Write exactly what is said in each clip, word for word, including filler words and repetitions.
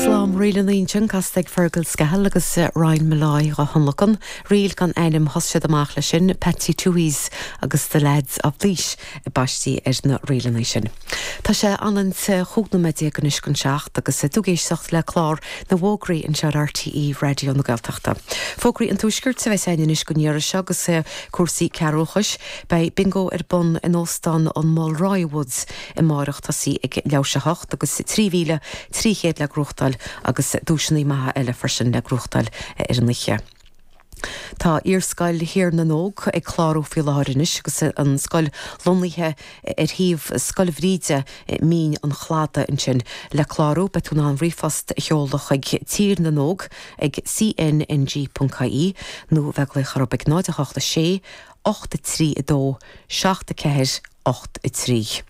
Slám ríleanna ansin casta ag Fergal Scahill agus Ryan Molloy á thionlacan, ríl gan ainm thosaigh siad amach leis sin Patsy Tuohy's agus the Lads of Laois baistí ar na ríleanna sin. Tá sé anant chúig nóiméad déag anois chun seacht agus tú ag éisteacht le clár na bhfógraí anseo ar RTÉ Raidió na Gaeltachta. Fógraí an tuaiscirt a bheas againn anois don iarraidh seo agus cúrsaí cearúchais, beidh bingo ar bun in óstán an Mulroy Woods amárach tosaí ag leathuair théis a hocht agus trí mhíle trí chéad le gnóthachtáil agus duaiseanna maithe eile freisin le gnóthachtáil ar an oíche. Tá Iarscoil Thír na nÓg ag clárú faoi láthair anois agus an scoil lonnaithe ar thaobh Scoil Bhríde Mín an Chladaigh ansin le clárú beidh tú in ann ríomhphost a sheoladh chuig Tír na nÓg ag cnng.ie nó bheith ag glaoch orthu ag náid a hocht a sé ocht a trí a dó seacht a ceathair ocht a trí.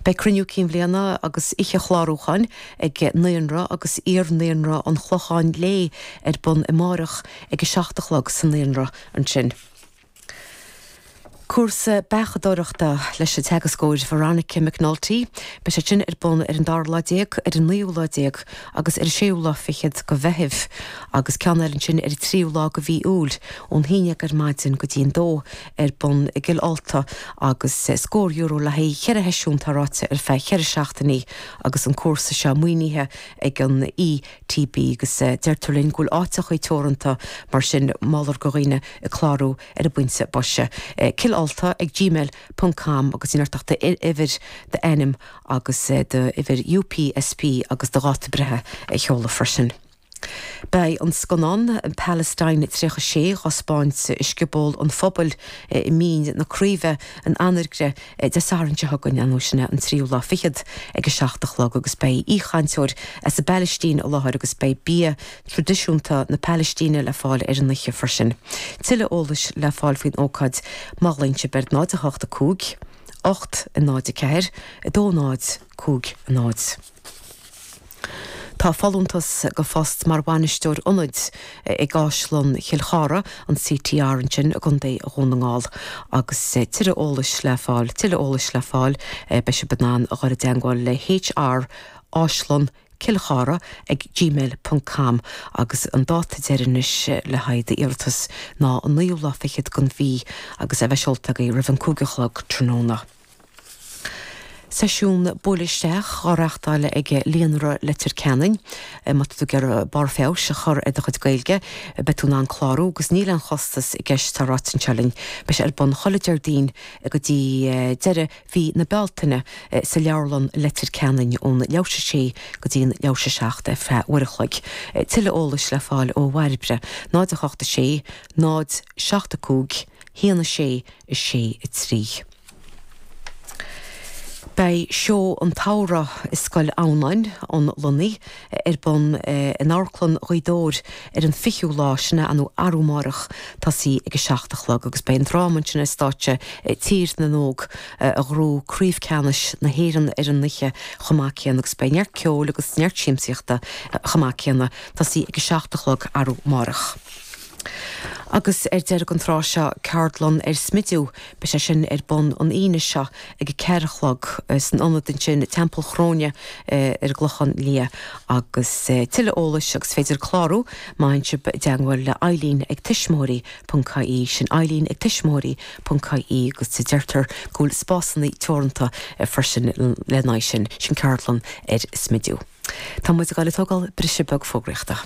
Beidh cruinniú cinn bhliana agus oíche chlárúcháin ag Naíonra agus iar-naíonra an Chlocháin Léith ar bun amárach ag a seacht a chlog sa naíonra ansin. Cúrsa beachadóireachta leis an teagascóir Veronica McNulty, Beidh sé sin ar bun ar an dara lá déag ar an naoú lá déag agus ar an séú lá fichead de Mheitheamh, agus ceann eile ansin ar an tríú lá de mhí Iúil ón haon déag ar maidin go dtí an dó ar bun i gCill Ulta agus scór euro le haghaidh cheithre sheisiún tá ráite ar feadh cheithre seachtainí agus an cúrsa seo maoinithe ag an ETB agus deirtear linn go bhfuil áiteacha teoranta mar sin moltar do dhaoine ag clárú ar an bpointe boise. Cill Ulta ag gmail.com agus in ach uimhir d'ainm agus d'uimhir UPSP agus do dháta breithe a sheoladh freisin. Beidh an scannán Palestine tríocha sé á thaispeáint i Scioból an Phobail i Mín na Craoibhe in Anagaire Dé Sathairn seo chugainn an sin an tríú lá fichead ag a seacht a chlog agus beidh aoichainteoir as an bPalaistín i láthair agus beidh bia traidisiúnta na Palaistíne le fáil ar an oíche freisin. Tuilleadh eolais le fáil faoin ócáid má ghlaonn sibh ar náid a hocht a cúig, ocht a náid a ceathair, a dó náid cúig a náid. Tá folúntas do phost mar bhainisteoir ionaid ag Áislann Chill Chartha an CTR ansin i gContae Dhún na nGall agus tuilleadh eolais le fáil tuilleadh eolais le fáil beidh sibh in ann a dhul i dteagmháil le HR Áislann Cill Chartha ag gmail.com agus an dáta deireanach le haghaidh d'iarratas ná an naoú lá fichead den mhí agus a bheith seolta agaibh roimh an cúig a chlog tráthnóna. Seisiún buail isteach á reáchtáil ag Líonra Leitir Ceanainn má tá tú ag iarraidh barr feabhais a chur ar do chuid Gaeilge, beidh tú in ann clárú agus níl aon chostas i gceist tá ráite anseo linn. Beidh sé ar bun chuile Déardaoin go dtí deireadh mhí na Bealtaine sa leabharlann Leitir Ceanainn ón leathuair théis a sé go dtí an leathuair théis a seacht ar feadh uair a chloig. Tuilleadh eolais le fáil ó Bhairbre, náid a hocht a sé, náid seacht a cúig, haon a sé a sé a trí. Beidh seó an tsamhraidh i Scoil Adhamhnáin an Lunaí ar bun in Amharclann Ghaoth Dobhair ar an fichiú lá sin nó arú amárach tosaí ag a seacht a chlog agus beidh an dráma ansin ar stáitse Tír na nÓg a ghnóthaigh Craobh Ceannais na hÉireann ar an oíche chomh maith céanna agus beidh neart ceoil agus neart siamsaíochta chomh maith céanna tosaí ag a seacht a chlog arú amárach. Agus ar deireadh an tráth seo ceardlann ar smidiú, beidh sé sin ar bun an Aoine seo ag a ceathair a chlog san ionad ansin Teampall Chróine ar an gClochán Liath agus tuilleadh eolais agus féidir clárú má théann sibh i dteagmháil le Eileen ag tuismitheoirí ponc ie sin Eileen ag tuismitheoirí ponc ie agus deirtear go bhfuil spásanna teoranta freisin lena aghaidh sin sin ceardlann ar smidiú. Tá muid ag dul ag tógáil briseadh beag fógraíochta.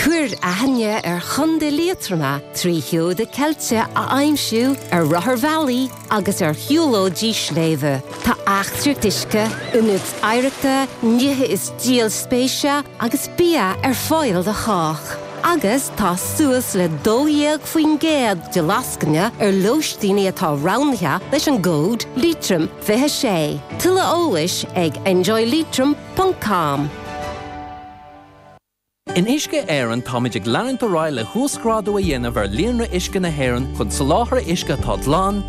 Cuir aithne ar Chontae Liatroma trí sheoda ceilte a aimsiú ar rotharbhealaí agus ar shiúlóidí sléibhe. Tá eachtraíocht uisce, ionaid oidhreachta, nithe is díol spéise agus bia ar fáil do chách. Agus tá suas le dó dhéag faoin gcéad de lascaine ar lóistíní atá roghnaithe leis an gcód Leitrim fiche sé. Tuilleadh eolais ag enjoyleitrim ponc com. In Uisce Éireann táimid ag leanúint ar aghaidh le huasghrádú a dhéanamh ar líonra uisce na hÉireann chun soláthar uisce atá glan,